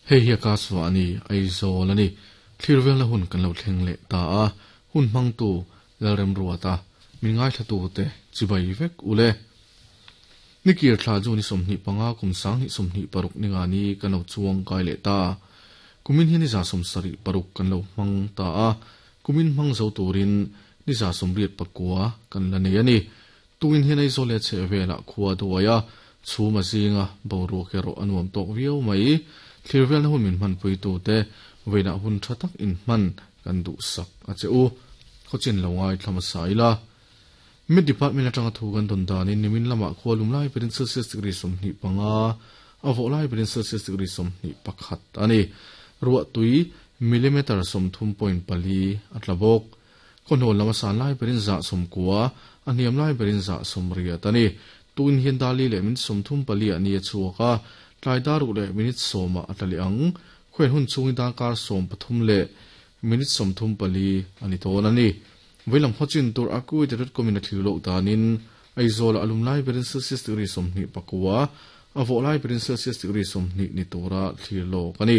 Hei hi Akashvani, Aizawl a ni. Thlir velna hun kan lo thleng leh ta a, hun hmangtu Lalremruata, min ngaithlatute chibai vek u le. Nikir thla chu ni 25 kum 2026 ninga ni kan lo chuang kai leh ta. Kumin hi ni 76 kan lo hmang ta a, kumin hmang zo turin ni 89 kan la nei a ni. Tuin hian Aizawl leh chheh velah khua duai a, chhum a zinga boruak erawh a nuam tawk viau mai. Thlir velna hun min hmanpuitute vawiinah hun tha tak inhman kan duhsak a che u. Khawchin lo ngaithla hmasa ila. Met Department atanga thu kan dawn danin nimin lamah khua lum lai berin Celsius degree 25, a vawh lai berin Celsius degree 21 a ni. Ruahtui millimeter 30.4 a tla bawk. Khawhnawl lam a san lai berin 90, a hniam lai berin 80 a ni. Tukin hian Dali leh minute 34 ah ni a chhuak a, tlai dar ruk leh minute 10 ah a tla leh ang. Khuain hun chhungin darkar 13 leh minute 34 a ni dawn a ni. Veilam khawchin tur a Kuwait dot com in a thlir loh danin Aizawl ah a lum lai berin Celsius degree 29, a vawh lai berin Celsius degree 20 ni tura thlir lawk a ni.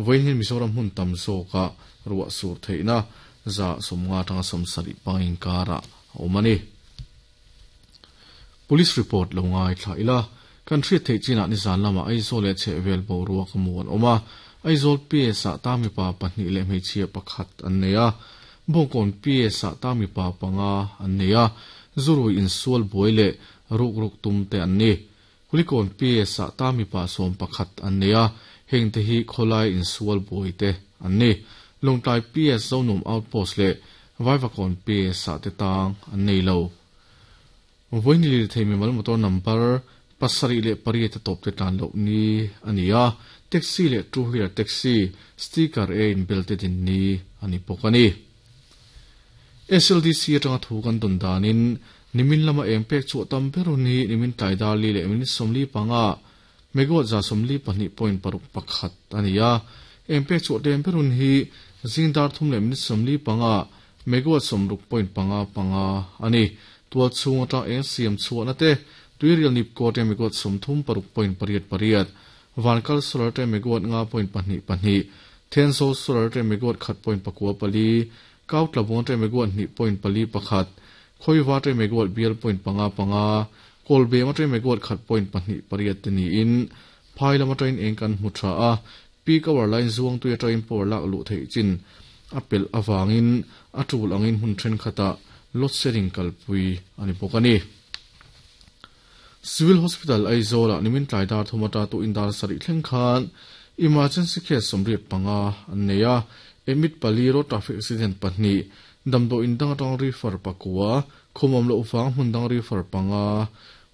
Vawiin hian Mizoram hmun tam zawkah ruah sur theihna 50 atanga 70 pang inkarah a awm a ni. Police report lo ngaithla ila, kan hriat theih chinah nizan lamah Aizawl leh chhehvel boruak a mu an awm a, Aizawl PS-ah ta mipa pahnih leh hmeichhia pakhat an nei a, Bawngkawn PS-ah ta mipa panga an nei a, zurui insual buai leh rukruk tum te an ni. Kulikawn PS-ah ta mipa 11 an nei a, hengte hi khawlai insual buai te an ni. Lawngtlai PS Zonuam Outpost leh Vaivakawn PS-ah te tang an nei lo. Vawiin lirthei mimal motor number 7 leh 8 a tawp te tlan loh ni a ni a, taxi leh two wheeler taxi sticker e inbel te din ni a ni bawk a ni. SLDC atanga thu kan dawn danin nimin lama eng pek chhuah tam ber hun hi nimin tlai dar li leh minute 45 megawatt 42.61 a ni a, eng pek chhuah tlem ber hun hi zing dar 3 leh minute 45 megawatt 60.55 a ni. Tual chhung atang eng siam chhuahna te tuirial nipko te megawatt 36.88, Vankal solar te megawatt 9.22, Thenzawl solar te megawatt 1.94, Kautlabawng te megawatt 2.41, Khawiva te megawatt bial point panga panga, Kawlbem atang megawatt 1.28 te niin phai lam atangin eng kan hmu tha a, peak hour line zuang tui atangin power lak luh theih chin a pelh avangin a tul angin hmun thenkhatah load shedding kalpui a ni bawk a ni. Civil Hospital Aizawl-ah nimin tlai dar thum ata tuin dar sarih thleng khan emergency case 85 an nei a, admit pali, road traffic accident pahnih, damdawi in dang atang refer pakua, khum awm loh vang hmun dang refer panga,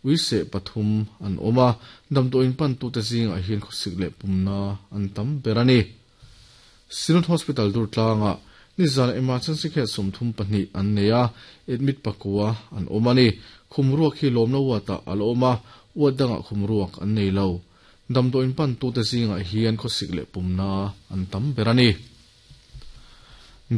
uiseh pathum an awm a, damdawi in pantute zingah hian khawsik leh pumna an tam ber a ni. Synod Hospital Durtlangah nizan emergency case 32 an nei a, admit pakua an awm a ni. Khum ruak hi lawmna ward-ah a la awm a, ward dangah khum ruak an nei lo. Damdawi in pantute zingah hian khawsik leh pumna an tam ber a ni.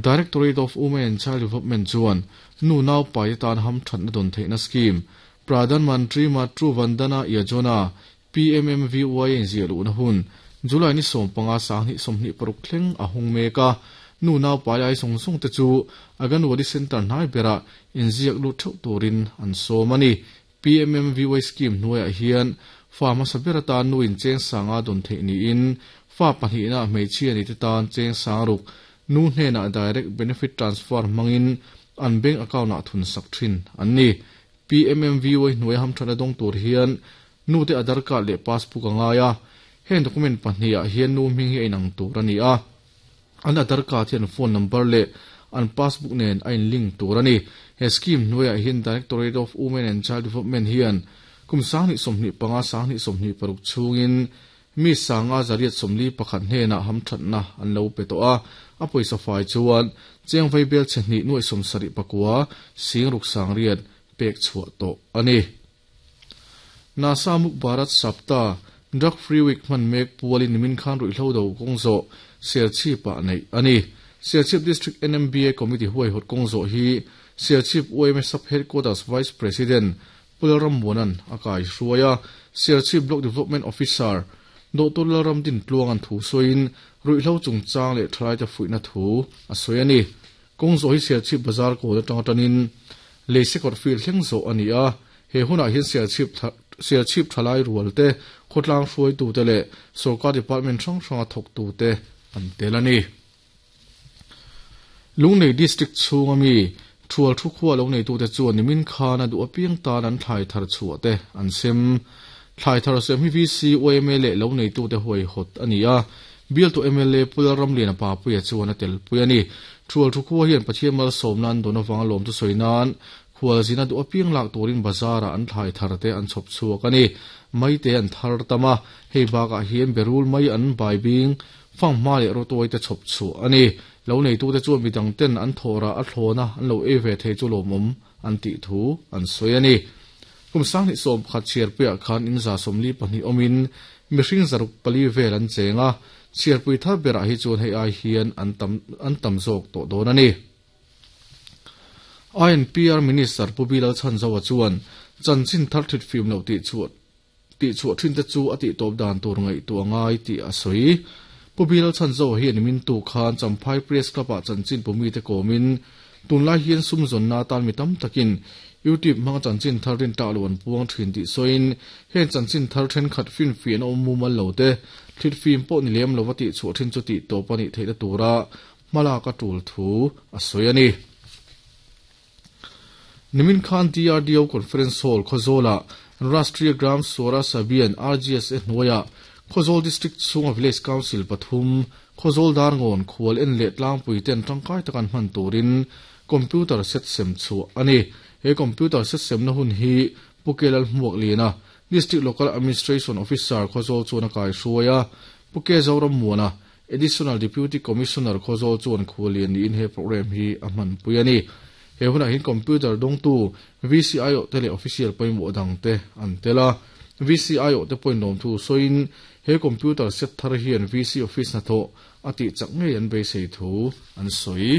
Directorate of Women and Child Development chuan nu naupai te tan hamthatna dawn theihna scheme Pradhan Mantri Matru Vandana Yojana, PMMVY, a inziah luhna hun July ni 15 2026 thleng a hung mek a, nu naupai ai zawng zawng te chu Anganwadi Centre hnai berah inziak lut theuh turin an sawm a ni. PMMVY scheme hnuaiah hian fa hmasa ber atan nu in cheng sanga dawn theih niin fa pahnihna hmeichhia ni te tan cheng sang ruk nu hnenah direct benefit transfer hmangin an bank account ah thun sak thin an ni. PMMVY hnuai hamthatna dawng tur hian nu te Aadhaar card leh passbook a ngai a, heng document pahnih ah hian nu hming hi a inang tur a ni a. An Aadhaar card hian phone number leh an passbook nen a in link tur a ni. He scheme hnuaiah hian Directorate of Women and Child Development hian kum 2025, 2026 chhungin mi 541 hnenah hamthatna an lo pe tawh a, a pawisa fai chuan cheng vaibel chhe hnih nuaih 79 sing ruk sang riat pek chhuah tawh a ni. NASA Muk Bharat Sapta, Drug Free Week hman mek pualin nimin khan ruihhlo do kawng zawh Serchhip ah neih a ni. Serchhip District NMBA Committee huaihawt kawng zawh hi Serchhip yma Sub Headquarters Vice President Pu Lalrammuana'n a kai hruai a, Serchhip Block Development Officer Doctor Lalramdintluanga'n thu sawiin ruihhlo chungchang leh thalaite fuihna thu a sawi a ni. Kawng zawh hi Serchhip Bazar kawl atanga tanin Leisekawr field thleng zawh a ni a, he hunah hian Serchhip Serchhip thalai rualte, khawtlang hruaitute leh sorkar department hrang hranga thawktute an tel a ni. Lunglei District chhunga mi Thual thu khua lo neitute chuan nimin khan a duh apiang tan an thlai thar chhuah te an sem. Thlai thar sem hi VC, yma leh lo neitute huaihawt a ni a, bialtu mla Pu Lalramliana Papuia chuan a telpui a ni. Thual thu khua hian Pathian malsawmna an dawn avanga lawmtu sawi nan khualzina duh apiang lak turin bazar-ah an thlai thar te an chhawp chhuak a ni. Maite an thar tam a, hei bakah hian berul mai an baibing Fanghma leh rawtuai te chhawp chhuah a ni. Lo neitute chuan midang ten an thawhrah a thlawna an lo ei ve thei chu lawmawm an tih thu an sawi a ni. Kum 2011 chhiarpuiah khan in 42 awmin mihring 604 vel an cheng a, chhiarpui thar berah hi chuan hei ai hian an tam an tam zawk tawh dawn a ni. INPR Minister Pu Bilal Chhanzoa chuan chanchin thar thitfim loh tih chhuah Tihchhuah thinte chu a tihtawp dan tur ngaihtuah a ngai tih a sawi. Pu Bilal Chhanzoa hian i mintu khan Champhai Press Club-ah chanchin pumite kawmin, tunlai hian sum zawnna atan mi tam takin YouTube hmanga chanchin thar rintlak lo an puang thin tih sawiin, heng chanchin thar thenkhat finfiahna awm mumal lo te, thlitfim pawh ni lem lova tihchhuah thin chu tihtawp a nih theihna tura hmalak a tul thu a sawi a ni. Nimin khan DRDO Conference Hall, Khawzawlah Rashtriya Gram Swaraj Abhiyan, RGSA, hnuaiah Khawzawl District chhunga Village Council pathum, Khawzawl Darngawn, Khual en leh tlangpui ten tangkai taka an hman turin Computer set sem chhuah a ni. He Computer set semna hun hi Pu Ke Lalhmuakliana, District Local Administration Officer, Khawzawl chuan a kaihruai a, Pu Ke Zorammuana, Additional Deputy Commissioner Khawzawl chuan khualian niin he programme hi a hmanpui a ni. He hunah hian computer dawngtu VCIO te leh official pawimawh dang te an tel a. VCIO te pawhin lawmthu sawiin he computer set thar hian VC office hnathawh a tih chak ngei an beisei thu an sawi.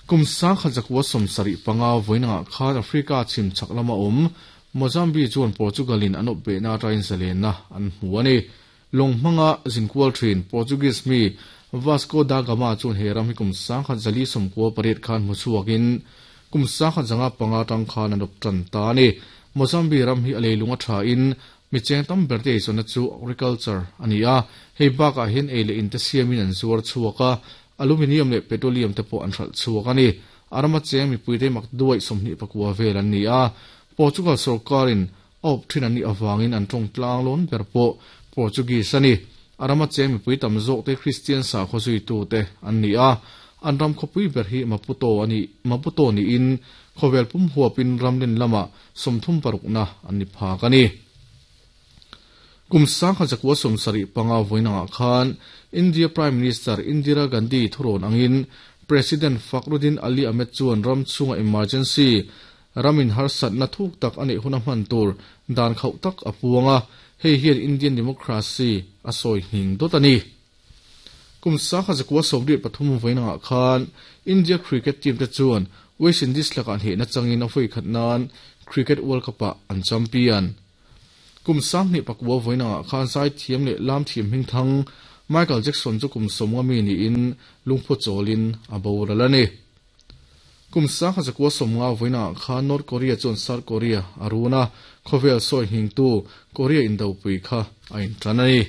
Kum 1975 vawiinangah khan Africa chhim chhak lama awm Mozambique chuan Portugal-in an awpbehna aṭangin zalenna an hmu a ni. Lawng hmanga zinkual thin Portuguese mi Vasco da Gama chuan he ram hi kum 1498 khan hmu chhuakin kum 1505 atang khan an awp tan ta a ni. Mozambique ram hi a leilung a thain mi cheng tam ber te eizawnna chu agriculture a ni a, hei bakah hian ei leh in te siamin an zuar chhuak a, aluminium leh petroleum te pawh an hralh chhuak a ni. A rama cheng mipuite makduaih 29 vel an ni a, Portugal sorkarin A awp thin an nih avangin an tawng tlang lawn ber pawh Portuguese a ni. A rama cheng mipui tam zawkte Kristian sakhaw zuitute an ni a, an ram khawpui ber hi Maputo a ni Maputo niin khawvel pum huapin ramlin lamah 36na an ni phak a ni. Kum 1975 vawiinangah khan India Prime Minister Indira Gandhi thurawn angin President Fakhruddin Ali Ahmed chuan ram chhunga emergency Ramin harsatna thuk tak a neih huna hman tur dan khauh tak a puang a, hei hian Indian democracy a sawi nghing dawt a ni. Kum 1983 vawiinangah khan India cricket team te chuan West Indies lakah hnehna changin a vawi khat nan Cricket World Cup-ah an champion. Kum 2009 vawiinangah khan zaithiam leh lamthiam hmingthang Michael Jackson chu kum 50 mi niin lungphu chawlin a boral a ni. Kum 1950 vawiinah khan North Korea chuan South Korea a run a, khawvel sawi nghingtu Korea indopui kha a intan a ni.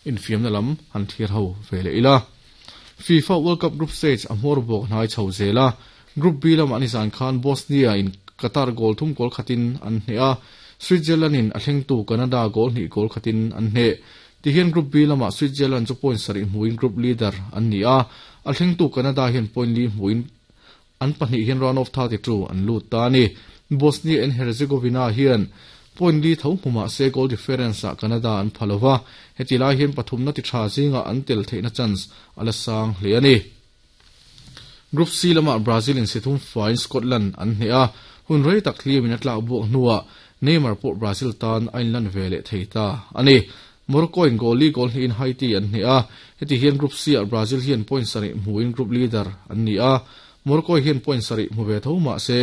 Infiamna lam han thlir ho ve leh ila. FIFA World Cup Group Stage a hmawr bawk hnai chho zel a, Group B lamah nizan khan Bosnia in Qatar goal thum goal khatin an hneh a, Switzerland in a thlengtu Canada goal hnih goal khatin an hneh. Tihian Group B lamah Switzerland chu point sarih hmuin group leader an ni a, a thlengtu Canada hian point li hmuin an pahnih hian round of 32 an lut ta a ni. Bosnia and Herzegovina hian point li tho hmu mah se goal difference ah Canada an pha lova, heti lai hian pathumna ti tha zingah an tel theihna chance a la sang hle a ni. Group C lamah Brazil in si thum faiin Scotland an hneh a, hun rei tak hliamin a tlak buak hnuah Neymar pawh Brazil tan a inlan ve leh thei ta a ni. Morocco in goal li goal hnihin Haiti an hneh a, heti hian Group C ah Brazil hian point sarih hmuin group leader an ni a, Morocco hian point sarih hmu ve tho mah se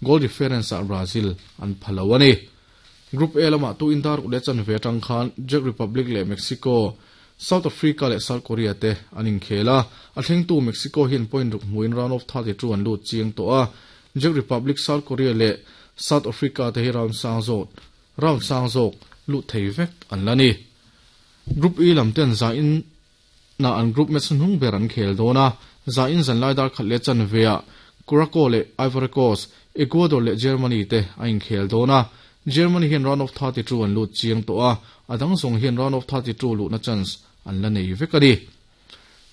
goal difference ah Brazil an pha lo a ni. Group A lamah tu indar ruk leh chanve atang khan Czech Republic leh Mexico, South Africa leh South Korea te an inkhel a. A thlengtu Mexico hian point ruk hmuin round of 32 an lut chiang tawh a. Czech Republic, South Korea leh South Africa te hi round sang zawk round sang zawk lut thei vek an la ni. Group E lam ten za in na an group match hnung ber an khel dawn a, za in zan lai dar khat leh chanve ah Curacao leh Ivory Coast, Ecuador leh Germany te a inkhel dawn a. Germany hian round of 32 an lut chiang tawh a, a dang zawng hian round of 32 luhna chance an la nei vek a ni.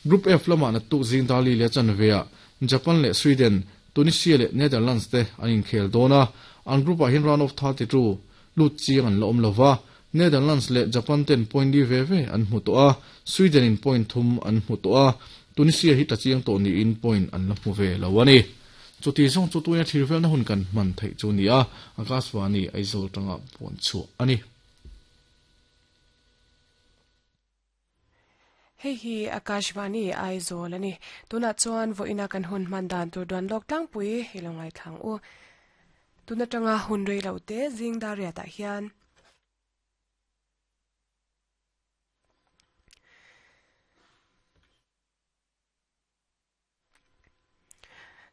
Group F lamah naktuk zing dar li leh chanve ah Japan leh Sweden, Tunisia leh Netherlands te an inkhel dawn a, an group ah hian round of 32 lut chiang an la awm lova, Netherlands leh Japan ten point li ve ve an hmu tawh a, Sweden in point thum an hmu tawh a, Tunisia hi tla chiang tawh niin point an la hmu ve lo a ni. Chuti zawng chu tuina thlir velna hun kan hman theih chu ni a, Akashvani Aizawl tanga puan chhuah a ni. Hei hi Akashvani Aizawl a ni. Tunah chuan vawiina kan hun hman dan tur duan lawk tlangpui i lo ngaithlang u. Tun atanga hun rei lo te zing dar riatah hian.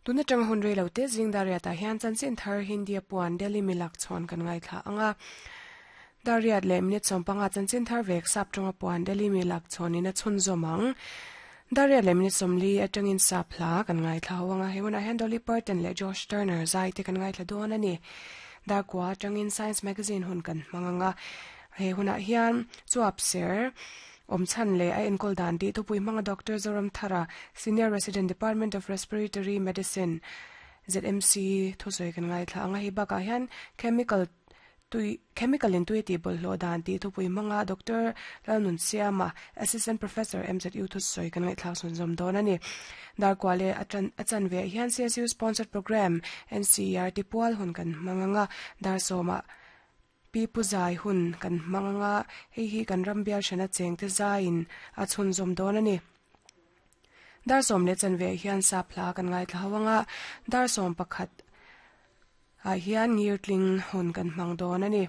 Tun atanga hun rei lo te zing Dariat ah hian chanchin thar Hindi a puan Delhi milak chhawn kan ngaithla ang a. Dariat leh minute sawmpanga chanchin thar vek sap tawnga puan Delhi milak chhawnin a chhunzawm ang. Dariat leh minute sawmli atangin sap hla kan ngaithla ho ang a. He hunah hian Dolly Parton leh Josh Turner zai te kan ngaithla dawn a ni. Darkua atangin Science Magazine hun kan hmang ang a. He hunah hian chuap ser Awm chhan leh a enkawl dan tih thupui hmanga Doctor Zoramthara, Senior Resident Department of Respiratory Medicine, ZMC, thusawi kan ngaithla ang a, hei bakah hian chemical tui chemical in tui tih bawlhhlawh dan tih thupui hmanga Doctor Lalnunsiama, Assistant Professor, MZU thusawi kan ngaihthlak sawn zawm dawn a ni. Darkua leh a tan a chanve ah hian CSU sponsored programme NCERT pual hun kan hmang ang a, dar sawmah Pi Pu Zai hun kan hmang anga hei hi kan ram bial hrana chengte zaiin a chhunzawm dawn a ni. Dar sawm leh chanve hian sap hla kan ngaithla ho anga dar sawm pakhat ah hian ngirtling hun kan hmang dawn a ni.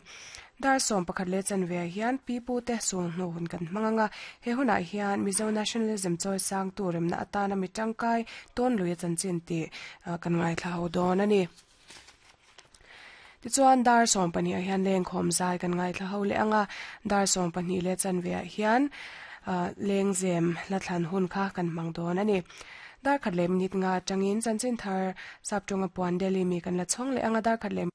Dar sawm pakhat leh chanve hian Pi Pu te sul hnu hun kan hmang anga he hunah hian Mizo Nationalism chawi sangtu remna atana mi tangkai tawn lui a chanchin tih kan ngaithla ho dawn a ni. Tichuan dar 12 ah hian lengkhawm zai kan ngaithla ho leh ang a, dar 12 leh chanve ah hian lengzem hla thlan hun kha kan hmang dawn a ni. Dar khat leh minute nga atangin chanchin thar Saptawnga puan Delhi mi kan la chhawng leh ang a, dar khat leh.